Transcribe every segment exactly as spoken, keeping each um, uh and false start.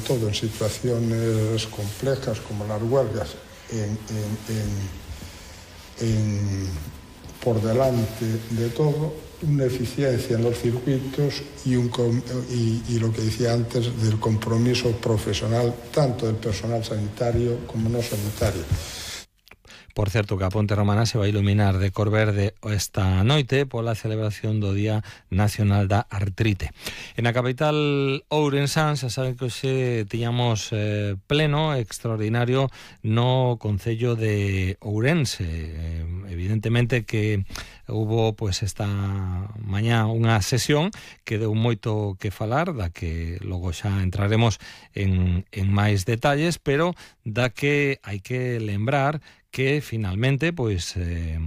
todo en situaciones complejas como las huelgas, en, en, en, en, por delante de todo, una eficiencia en los circuitos y, un, y, y lo que decía antes del compromiso profesional tanto del personal sanitario como no sanitario. Por certo, que a Ponte Romana se vai iluminar de cor verde esta noite pola celebración do Día Nacional da Artrite. En a capital ourensán, xa saben que hoxe tiñamos eh, pleno extraordinario no Concello de Ourense. Eh, evidentemente que hubo pues esta mañá unha sesión que deu moito que falar, da que logo xa entraremos en, en máis detalles, pero da que hai que lembrar que finalmente pois eh,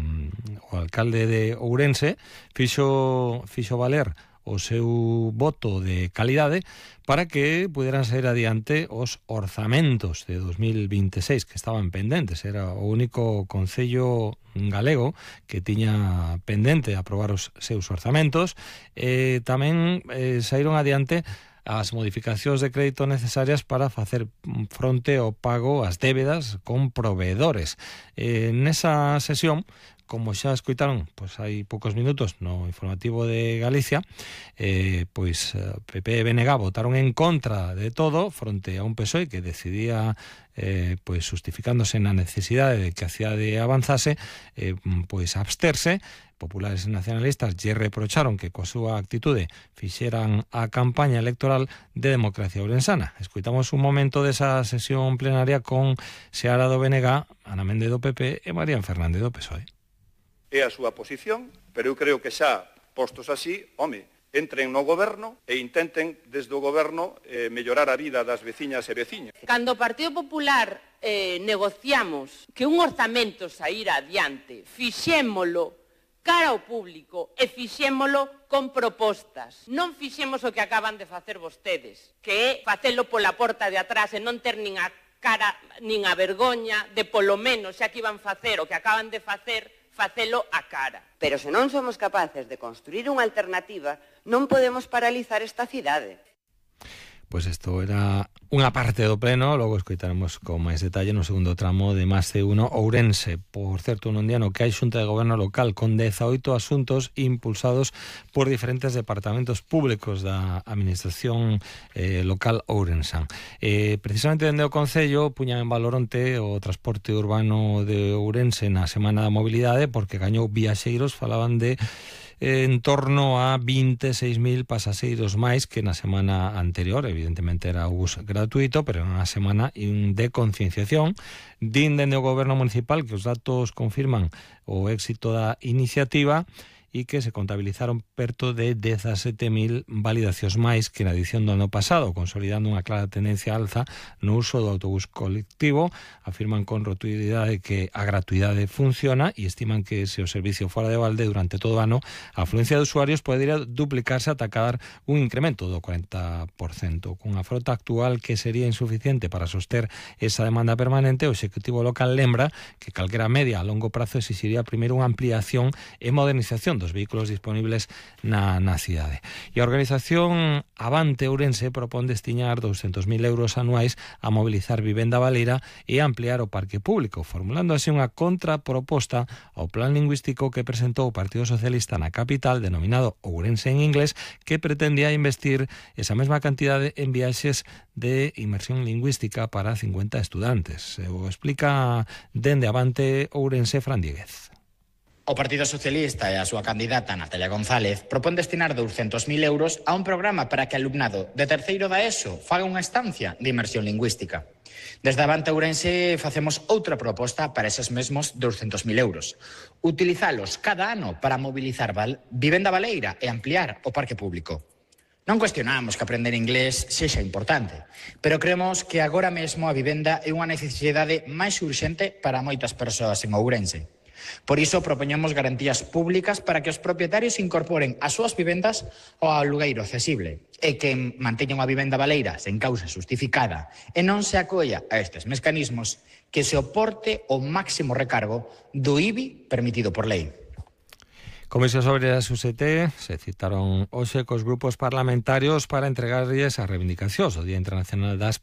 o alcalde de Ourense fixo, fixo valer o seu voto de calidade para que puderan sair adiante os orzamentos de dos mil vinte e seis que estaban pendentes. Era o único concello galego que tiña pendente aprobar os seus orzamentos. Eh, tamén eh, saíron adiante as modificacións de crédito necesarias para facer fronte ao pago ás débedas con proveedores. Eh, nesa sesión, como xa escoitaron, pois hai poucos minutos no informativo de Galicia, eh, pois P P e B N G votaron en contra de todo fronte a un P S O E que decidía eh, pois justificándose na necesidade de que a cidade avanzase, eh, pois absterse. Populares e nacionalistas lle reprocharon que coa súa actitude fixeran a campaña electoral de democracia ourensana. Escoitamos un momento desa sesión plenaria con Seara do B N G, Ana Méndez do P P e María Fernández do P S O E. É a súa posición, pero eu creo que xa postos así, home, entren no goberno e intenten desde o goberno eh, mellorar a vida das veciñas e veciños. Cando o Partido Popular eh, negociamos que un orzamento saíra adiante, fixémolo cara ao público e fixémolo con propostas. Non fixemos o que acaban de facer vostedes, que é facelo pola porta de atrás e non ter nin a cara nin a vergoña de polo menos, xa que iban facer o que acaban de facer, facelo a cara. Pero se non somos capaces de construir unha alternativa, non podemos paralizar esta cidade. Pois isto era unha parte do pleno, logo escoitaremos con máis detalle no segundo tramo de Más C uno Ourense. Por certo, nun día no que hai xunta de goberno local con dezaoito asuntos impulsados por diferentes departamentos públicos da administración eh, local ourensán. Eh, precisamente dende o Concello puñan en valor onte o transporte urbano de Ourense na Semana da Mobilidade porque gañou viaxeiros, falaban de en torno a vinte e seis mil pasaxeiros máis que na semana anterior. Evidentemente era o bus gratuito, pero era unha semana de concienciación. Din dende o goberno municipal que os datos confirman o éxito da iniciativa e que se contabilizaron perto de dezasete mil validacións máis que na edición do ano pasado, consolidando unha clara tendencia alza no uso do autobús colectivo. Afirman con rotundidade que a gratuidade funciona e estiman que se o servicio fora de balde durante todo o ano, a afluencia de usuarios podería duplicarse ata cadar un incremento do cuarenta por cento. Cunha frota actual que sería insuficiente para soster esa demanda permanente, o Executivo local lembra que calquera media a longo prazo exixiría primeiro unha ampliación e modernización dos vehículos disponibles na, na cidade. E a organización Avante Ourense propón destinar douscentos mil euros anuais a mobilizar vivenda baleira e ampliar o parque público, formulando así unha contraproposta ao plan lingüístico que presentou o Partido Socialista na capital, denominado Ourense en inglés, que pretendía investir esa mesma cantidade en viaxes de inmersión lingüística para cincuenta estudantes. O explica dende Avante Ourense Fran Dieguez. O Partido Socialista e a súa candidata Natalia González propón destinar douscentos mil euros a un programa para que alumnado de terceiro da ESO faga unha estancia de inmersión lingüística. Desde Avante Ourense facemos outra proposta para eses mesmos douscentos mil euros. Utilizalos cada ano para mobilizar val- vivenda baleira e ampliar o parque público. Non cuestionamos que aprender inglés sexa importante, pero creemos que agora mesmo a vivenda é unha necesidade máis urxente para moitas persoas en Ourense. Por iso propoñemos garantías públicas para que os propietarios incorporen as súas vivendas ao alugueiro accesible e que manteñan unha vivenda baleira sen causa justificada e non se acolla a estes mecanismos que se oporte o máximo recargo do I B I permitido por lei. Comisións Obreiras U S T se citaron hoxe cos grupos parlamentarios para entregarlles as reivindicacións do Día Internacional das